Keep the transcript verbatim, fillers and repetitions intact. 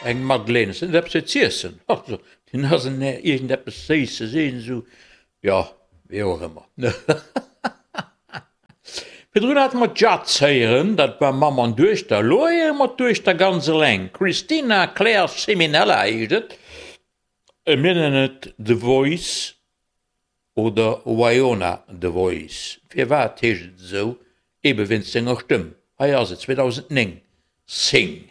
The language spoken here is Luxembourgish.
Eng Madeleine, ass dat net eppes fir z'iessen? Also, den ass en iergendeppes Séisses, iergend esou, jo, wéi och ëmmer. Virdrun hate mer d'Jazz héieren, dat war Mamm an Duechter. Elo héiere mer d'Duechter ganz eleng, Christina Claire Siminella heescht et. Mir nennen et The Voice oder Wyona The Voice. Firwat heescht et esou? Ebe wéinst senger Stëmm. Hei ass et, zweedausendnéng, Sing.